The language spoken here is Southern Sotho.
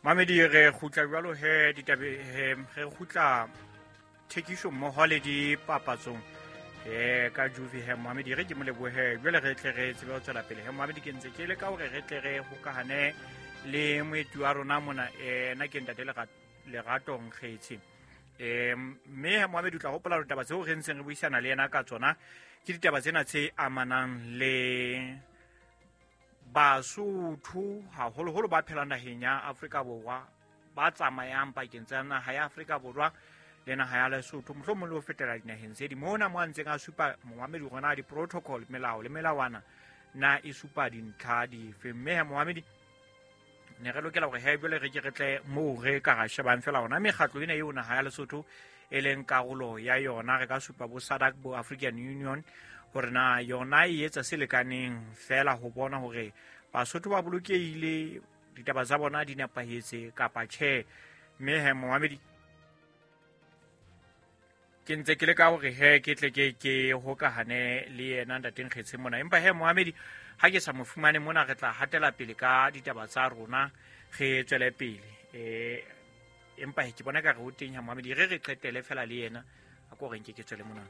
Mamedi, re kgutla jwalo he ditabe he re kgutla thekiso mmoho le dipapatsong ka Juve he Mohamedi, re ke mo lebohe. Jwale re tle re tsebe ho tswela pele he Mohamedi. Ke ntse ke le ka hore re tle re hokahane le moeti wa rona mona, na ke ntate Lerato Nkgetsi. Mme he Mohamedi, o tla hopola hore taba tseo re ntseng re buisana le yena ka tsona ke ditaba tsena tse amanang le Basotho, haholoholo ba phelang naheng ya Afrika Borwa, ba tsamayang pakeng tsa naha ya Afrika Borwa le naha ya Lesotho, mohlomong le ho fetela dinaheng tse ding. Mona mo a ntseng a supa momamedi gona di-protocol, melao le melawana na e supa dintlha dife. Mme he momamedi, ne re lokela gore he jwale re ke re tle moo re ka ra shebang fela ona mekgatlo ena eo naha ya Lesotho e leng karolo ya yona. Re ka supa bo SADC, bo African Union, hore na yona e etsa se lekaneng fela ho bona hore Basotho ba bolokehile, ditaba tsa bona di nepahetse kapa tjhe. Mme he momamedi, ke ntse ke le ka hore he ke tle ke hokahane le yena ntateng Kgetse mona, empa he moamedi ha ke sa mo fumane mona, re tla hatela pele ka ditaba tsa rona, re tswele pele. Empa he ke bona ka re o teng ha moamedi, re qetele fela le yena a ko reng ke tswele mona.